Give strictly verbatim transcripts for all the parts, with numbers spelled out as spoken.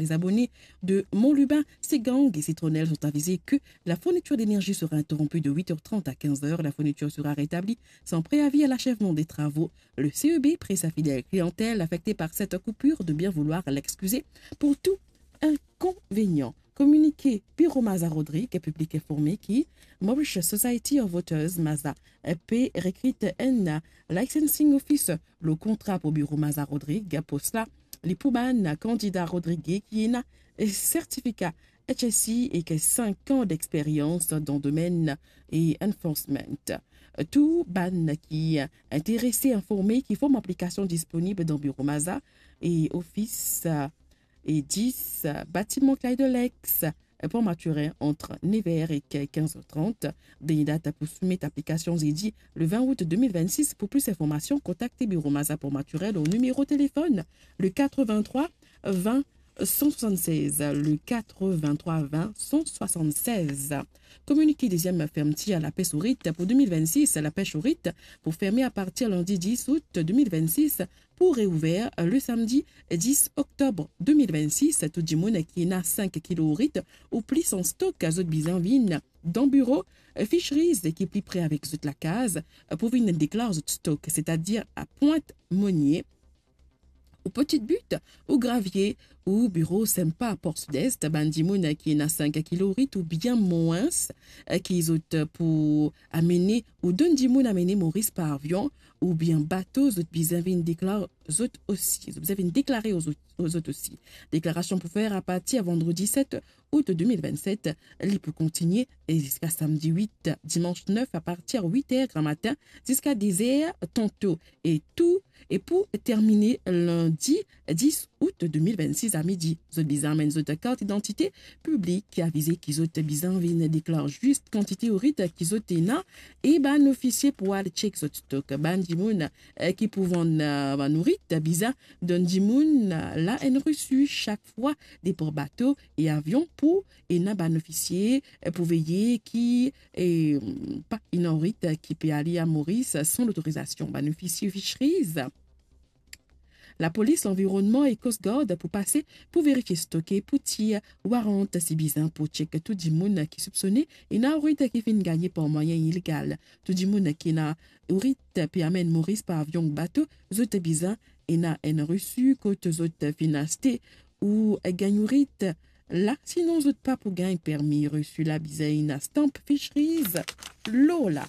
Les abonnés de Mont-Lubin, Ségang et Citronnelle sont avisés que la fourniture d'énergie sera interrompue de huit heures trente à quinze heures. La fourniture sera rétablie sans préavis à l'achèvement des travaux. Le C E B prie sa fidèle clientèle affectée par cette coupure de bien vouloir l'excuser pour tout inconvénient. Communiqué Bureau Maza Rodrig, public informé ki Mauritius Society of Voters, Maza, pe rekrit enn licensing officer lor kontra pou Bureau Maza Rodrig. Pou sela, li pou bann kandida Rodrig ki ena sertifika H S C ek cinq ans d'expérience dans domaine et enforcement. Tou bann ki interese informe ki form aplikasion disponib dan Bureau Maza e ofis e dis, batiman Clyde Lex, Port Mathurin, entre nev heures et quinze heures trente. Dernière date pour soumettre application, zedi le vingt août deux mille vingt-six. Pour plus d'informations, contactez Bureau Maza Port Mathurin au numéro de téléphone, le quatre-vingt-trois vingt cent soixante-seize, le quatre-vingt-trois vingt cent soixante-seize. Communiqué deuxième fermeture à la pêche au rite pour deux mille vingt-six. La pêche au rite pour fermer à partir lundi dix août deux mille vingt-six pour réouvert le samedi dix octobre deux mille vingt-six. Tou dimoun ki ena cinq kilo rit ou plis an stok, zot bizin vinn dan biro Fisheries ki pli pre avek zot lakaz pou vinn deklar zot stok, setadir a Pointe Monier, ou Petite Butte, ou Gravier, ou biro Sempa, Port Sud-Est. Bann dimoun ki ena cinq kilo rit oubien mwins, ki zot pou amene ou donn dimoun amene Moris par avion oubien bato, zot bizin vinn deklar zot osi. Zot bizin vinn deklare zot, zot osi. Deklarasion pou fer apartir vandredi set août deux mille vingt-sept, li pou kontigne e ziska samdi wit, dimanch nef, apartir wit er gramatin ziska de zer tanto, e tou, e pou termine lindi dis août deux mille vingt-six à midi. Zot bizin amenn zot kart idantite piblik, avize ki zot bizin vinn deklar zis kantite rit ki zot ena, e bann ofisie pou al tchek zot stok. Bann dimoun, eh, ki pou vann, eh, bann nourit, bizin donn dimoun, eh, la enn resi sak fwa depar bato e avion pou ena bann ofisie, eh, pou veye ki, eh, pa ena nourit ki pe ale a Moris san lotorizasion. Bann ofisie Fisheries, Lapolis Lanvironnman e Coast Guard pou pase pou verifie stok e pou tir warant si bizin pou tchek tou dimoun ki sipsone ena nourit ki finn gagne par mwayin ilegal. Tou dimoun ki ena nourit pe amenn Moris par avion, bato, zot bizin ena enn resi kot zot finn aste ou gagn nourit la, sinon zot pa pou gagn permi. Resi la bizin ena stamp Fisheries lor la.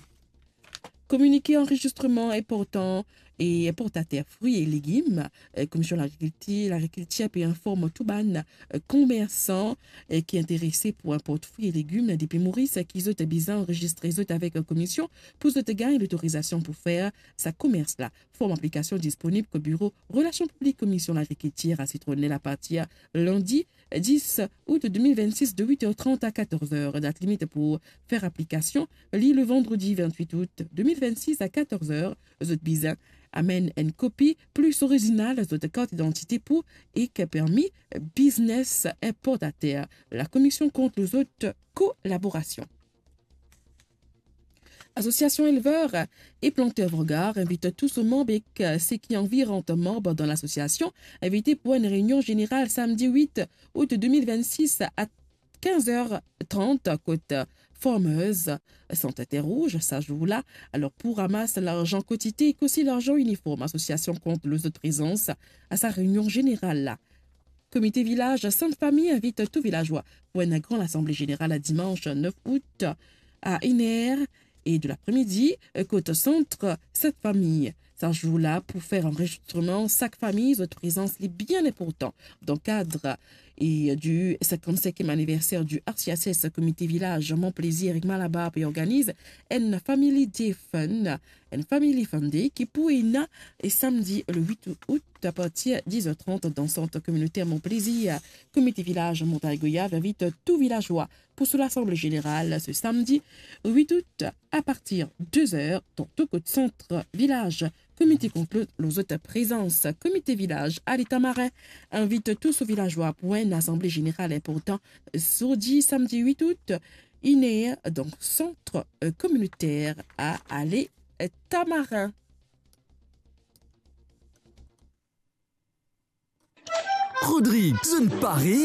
Kominike anrezistreman inportan e inportater frwi e legim. Eh, Komision Lagrikiltir, Lagrikiltir pe inform tou bann, eh, komersan, eh, ki interese pou inport frwi e legim depi Moris, ki zot bizin anrezistre zot avek komision pou zot gagn lotorizasion pou fer sa komers la. Form aplikasion disponib kot biro Relasion Piblik Komision Lagrikiltir a Citronnelle apartir lindi dis août deux mille vingt-six de huit heures trente à quatorze heures. Dat limit pou fer aplikasion, li le vandredi vingt-huit août deux mille vingt-six à quatorze heures. Zot bizin amenn enn kopi plis orizinal zot kart idantite pou ek permi biznes inportater. Lakomision kont lor zot kolaborasion. Asosiasion Elver e Planter Vangar invit tou so manb ek seki anvi rant manb dan lasosiasion, invite pou enn reinion zeneral samdi wit août deux mille vingt-six a kinz er trant kot Farmers, Sant Terre Rouge, sa zour la. Alor, pou ramas larzan kantite ek osi larzan iniform, asosiasion kont lor zot prezans a sa reinion zeneral la. Komite Vilaz Sent Fami invit tou vilazwa pou enn gran lasanble zeneral a dimans nef août a enn er e de lapre-midi, kot sant Sent Fami. Sa zour la pou fer anrezistreman sak fami, zot prezans li bien inportan. Dan kad e di sinkant-sinkiem aniverser di R C S S, Komite Vilaz Mon Plaisir ek Malabar pe organiz enn Family Day Fun, enn Family Fun Day ki pou ena e samdi le wit août apartir diz er trant dan sant kominoter Mon Plaisir. Komite Vilaz Montagne Goyave invit tou vilazwa pou so lasanble zeneral se samdi wit août apartir de zer dan tou kot sant vilaz. Komite kont lor zot prezans. Komite Vilaz Ale Tamarin invit tou so vilazwa pou enn lasanble zeneral inportan zordi samdi wit août, enn er, dan sant, eh, kominoter a Ale Tamarin. Rodrig, zot pare?